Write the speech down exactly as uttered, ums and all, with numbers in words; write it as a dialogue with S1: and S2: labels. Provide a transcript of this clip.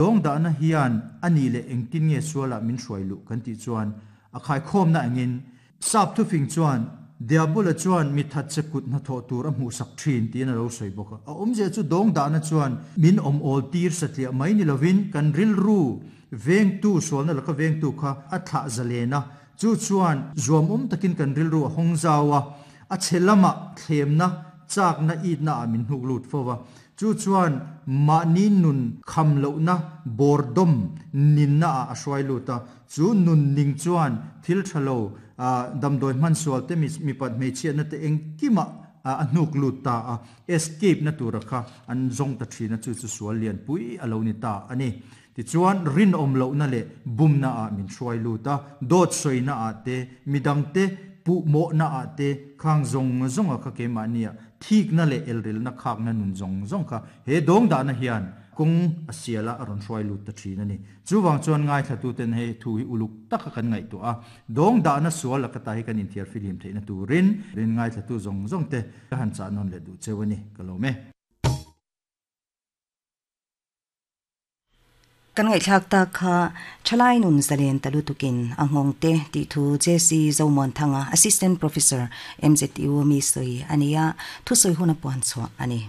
S1: Dawng dahna hian a nih leh engtin nge sualah min hruai luh kan tih chuan a khaikhawmna angin sap thufing chuan Diabola chuan mi thatchhe kut hnathawh tur a hmuhsak thin tiin a lo sawi bawk a. A awmzia chu dawng dahna chuan min awm awl tir satliah mai ni lovin kan rilru vengtu, sualna laka vengtu kha a thlah zalen a. Chu chuan zuamawm takin kan rilru a hawng zau a, a chhe lamah thlemna, chakna, itna ah min hnuk lut fo va. Chu chuan mahni nun kham lohna, boredom, ninna ah a hruai lut a. Chu nun ning chuan thil tha lo, damdawi hman sual te, mipat hmeichhiatna te engkimah a hnuk lut ta a. Escape na tura kha an zawng ta thin a, chu chu sual lianpui a lo ni ta a ni. Tichuan rinawm lohna leh bumna ah min hruai lut a, dawt sawina ah te, midangte puhmawhna ah te, khang zawng zawng a kha keimahnia thikna leh elrilna khakna nun zawng zawng kha he dawng dahna hian kawng a siala a rawn hruai lut ta thin a ni. Chuvang chuan ngaithlatuten hei thu hi uluk taka kan ngaihtuah a, dawng dahna sual laka ta hi kan inthiar filim theihna turin rin ngaithlatu zawng zawng te ka han chah nawn leh duh cheu a ni. Ka lawm e.
S2: Kan ngaihthlak tak kha Thalai nun zalen ta lutukin a nghawng te tih thu J C Zomuanthanga, Assistant Professor, M Z U mi sawi a ni a, thusawi hun a puan chhuah a ni.